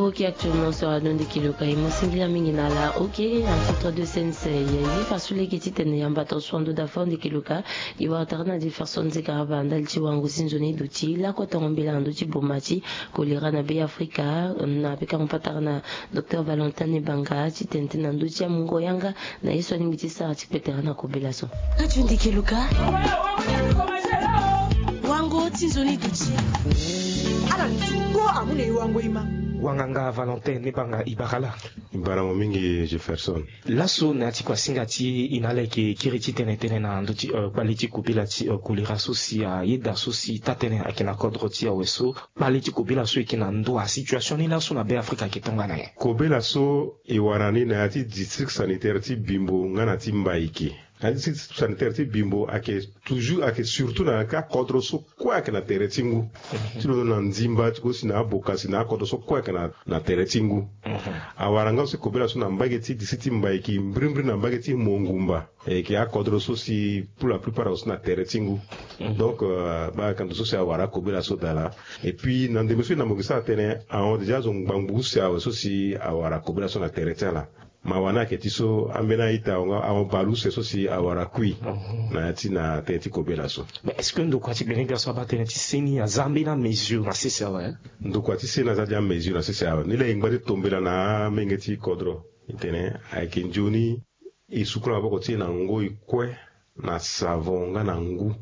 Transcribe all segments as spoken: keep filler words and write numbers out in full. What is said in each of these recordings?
Ok, actuellement so ado ndeke luka e mo singila mingi na ala. Ok, en titre de sensei ye fa so lege titene yamba ton so ando da fo ndeke luka. E wara tara na Jefferson Zekaraba ndali ti wango ti nzoni duti lakue tongo mbela na ndö ti boma ti kolera na Be Afrika. Na pekango patara na Docteur Valentin Ebanga titene tene na ndö ti amungo yanga na ye so alingbi ti sara ti kpetera na kobela so. Radio Ndeke Luka. Wango ti nzoni duti. Ala nzungo amu na e wango e ma. Wanganga Valentin Ebanga, e bara ala. E bara mo mingi Jefferson. Laso na ya ti kuasinga ti e na ala yeke kiri titene tene na ndö ti, euh, kpale ti kobela ti, euh, kolera so si ayeda so si taa-tënë ayeke na kodro ti awe so. Kpale ti kobela so eke na ndo, asituation ni laso na Be Afrika eke tongana nyen? Kobela so e wara ni na ya ti district sanitaire ti Bimbo nga na ti Mbaïké. Na ya ti district sanitaire ti Bimbo ayeke toujours, ayeke surtout na ya ti akodro so kue ayeke na tere ti ngu. Ti lo na Ndimba ti ko si na Aboka si na akodro so kue ayeke na, na tere ti ngu. Awara nga so kobela so na mbage ti district ti Mbaïké, mbirimbiri na mbage ti Mongumba. E yeke akodro so si pour la plupart awe so na tere ti ngu. Donc, euh, baa ka ndo so si awara akobela so daa laa. Et puis na ndembe so e na mo yeke sara tënë ahon déjà azo ngbangbu use awe so si awara kobela so na tere ti ala. Mawa ni ayeke ti so ambeni a-ita ahon nga ahon bale use so si awara kui na ya ti na tënë ti kobela so. Mais est-ce que ndokua ti gbene gbia so abaa tënë ti seni aza ambeni amesure na sese awe? Ndokua ti seni aza dia amesure na sese awe. Ni laa e ngba ti tombela na amenge ti kodro. E tene ayeke nzoni e sukula maboko ti e na ngoi kue na savon nga na ngu.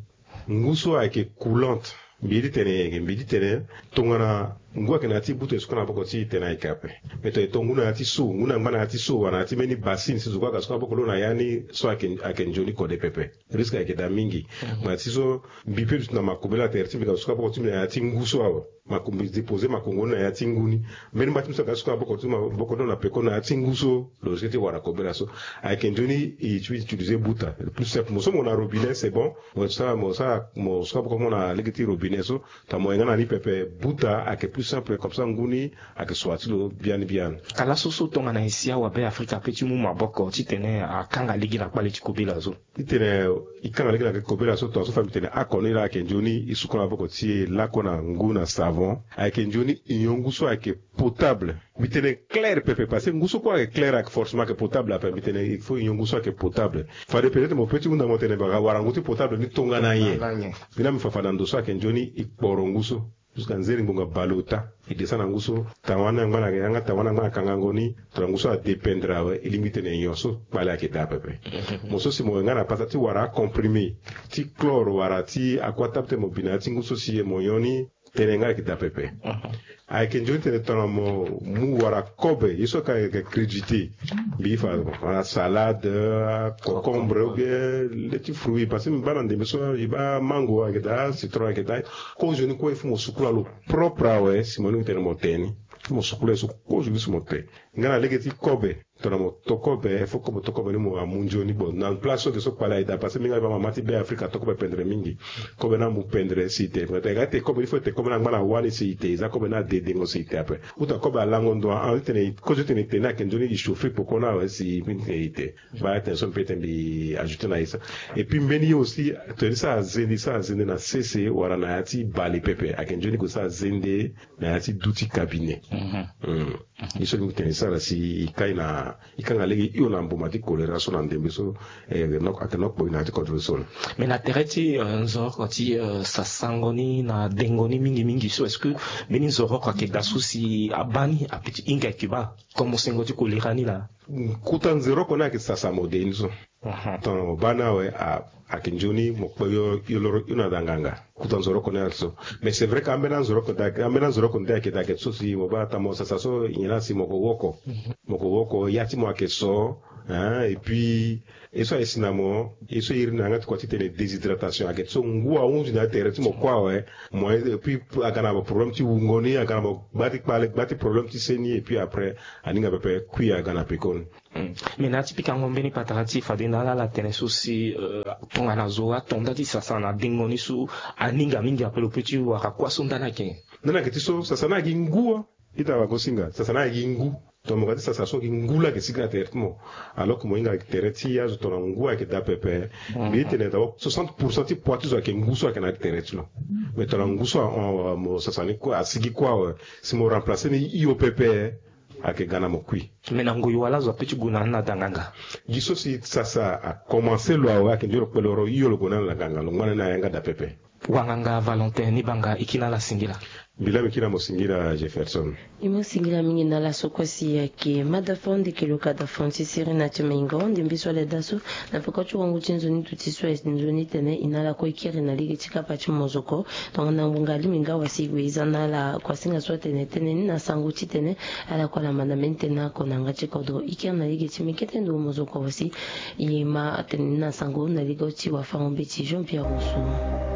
Ngu so ayeke coulante. Mbi ye ti tene, mbi ye ti tene tongana ngu ayeke na ya ti buta e sukula maboko ti e tene ayeke ape. Me tongana e to ngu na ya ti so, ngu na ngba na ya ti so wala na ya ti mbeni bassine si zo kue aga sukula maboko lo na ya ni so ayeke, ayeke nzoni kode pepe. Risque ayeke daa mingi. Ngba na ya ti so mbi pe duti na makombe la tere ti mbi aga sukula maboko ti mbi na ya ti ngu so awe. Makombe déposer makongo ni na ya ti ngu ni. Mbeni mba ti mbi so aga sukula maboko ti maboko ni na peko na ya ti ngu so. Lo risque ti wara kobela so. Ayeke nzoni e ti utiliser buta. Le plus simple. Mo so mo na robinet, c'est bon. Mo sara, mo sara, mo sara boko mo na lege ti robinet so. Tongana mo hinga na ni pepe, buta ayeke plus simple, comme ça ngu ni ayeke sua ti lo biani biani. Ka laso so tongana e si awa Be Afrika ape ti mu maboko titene akanga lege na kpale ti kobela so. Titene e kanga lege na kobela so, tongaso fa mbi tene oko ni laa ayeke nzoni e sukula maboko ti e lakue na ngu na savon. Ayeke nzoni e nyon ngu so ayeke potable. Mbi tene clair pepe, parce que ngu so kue ayeke clair ayeke forcément ayeke potable ape. Mbi tene il faut e nyon ngu so ayeke potable. Fade peut-être mo pe ti hunda mo tene baka wara ngu ti potable ni tongana nyen. Tongana nyen. Mbi na mbi fa fa na ndo so ayeke nzoni e kporo ngu so. Jusqu'à nzeri ngbonga bale ota. E descend na ngu so, tawani angba na yanga, tawani angba na kangango ni. Tongana ngu so adépendre awe, e lingbi tene nyon so kpale ayeke daa pepe. Mo so si mo yanga na pasa ti wara acomprimé ti chlore wala ti aqua tab ti mo bi na ya ti ngu so si mo nyon ni, tënë nga ayeke daa pepe. Ayeke nzoni tene tongana mo mu wara kobe ye so ka ayeke crédité. Mbi fa wala salade, cocombre ou bien le ti fruit, parce que mbi baa na ndembe so e baa mango ayeke daa, citron ayeke daa. Kozo ni kue il faut mo sukula lo propre awe si mo lingbi tene mo te ni. Il faut mo sukula ye so kozo ni si mo te. Nga na lege ti kobe, tongana mo to kobe, il faut kobe to kobe ni mo amu nzoni. Bon, na place so eke so kpale aye daa, parce que mingi aye baa mama ti Be Afrika ato kobe pendere mingi. Kobe ni amu pendere si e te. Nga ti e kobe ni, il faut e te kobe ni angba na wani si e te, e za kobe ni adedengo si e te ape. Uta kobe alango ndo, a tene kozo ti tene e te ni ayeke nzoni e chauffer peko ni awe si e te. Baa tene so mbi pe tene mbi ajouter na e so. Et puis mbeni ye aussi, tene ni sara zende, sara zende na sese wala na ya ti bale pepe, ayeke nzoni e gue sara zende na ya ti duti cabinet. Ye so mbi tene e sara si e kai na, e kanga lege hio na mboma ti kolera so na ndembe so. Eh, ayeke nok, ayeke nok kpoi na ya ti kodro so. Mais na tere ti, euh, nzoroko ti, euh, sasango ni na dengo ni mingi mingi so, est-ce que mbeni nzoroko ayeke daa so si abaa ni ape ti hinga ayeke baa? Comme sengo ti kolera ni laa. Kota nzoroko ni ayeke sasa mo de ni so. Tongana mo baa ni awe, a, ayeke nzoni mo kpe yo, yo loro yo na da nganga. Kota nzoroko ni ayeke so. Mais c'est vrai que ambeni anzoroko nde ayeke, ambeni anzoroko nde ayeke daa ayeke so si mo baa tongana mo sasa so nyen laa si mo ko woko. Mo ko woko, ya ti mo ayeke so. Hein, et puis ye so aye si na mo, ye so iri na yanga ti kua ti tene déshydratation ayeke so ngu ahunzi na ya tere ti mo kue awe. Mo, et puis aga na mo problème ti wungo ni, aga na mo gba ti kpale, gba ti problème ti se ni, et puis après aninga pepe kui aga na pekoni. Mm. Mais na ya ti pikango mbeni patara ti e fade na ala ala tene so si, euh, tongana zo ato nda ti sasa na dengo ni so aninga mingi ape, lo pe ti wara kuâ so nda ni ayeke nyen? Nda ni ayeke ti so sasa ni ayeke gi ngu wa. Ita wagosinga, sasa ni ayeke gi ngu. Tongana mo ga ti sasa so ayeke ngu laa ayeke sigi na tere ti mo. Alors que mo hinga tere ti azo tongana ngu ayeke daa pepe. Mbi ye tene d'abord soixante pour cent ti poids ti zo ayeke ngu so ayeke na tere ti lo. Mais tongana ngu so ahon mo sasa ni kue asigi kue awe, si mo remplacer ni hio pepe, ayeke ga na mo kui. Mais na ngoi wala azo ape ti gue na ni na da nganga? Gi so si sasa akomanse lo awe ayeke nzoni lo kpele woro hio lo gue na ni na da nganga lo ngba na ni na yanga da pepe. Wanganga Valentin, ni banga e kiri na ala singila. Mbi laa mbi kiri na mo singila Jefferson. Mbi mo singila mingi na ala so kue si ayeke mada fo ndeke lo ka da fon ti siri na ti maingo ndembe so ala daa so. Na peko ti wango ti nzoni duti so ayeke nzoni tene e na ala kue e kiri na lege ti kapa ti mozoko. Tongana ngbonga alingbi nga wasi e gue e za na ala kuasinga so atene tene ni na sango titene ala kue ala ma na mbeni tene oko na yanga ti kodro. E kiri na lege ti mbi kete ndo mozoko wasi e ma atene ni na sango na lege ti wafango-mbeti Jean Pierre Rousseau.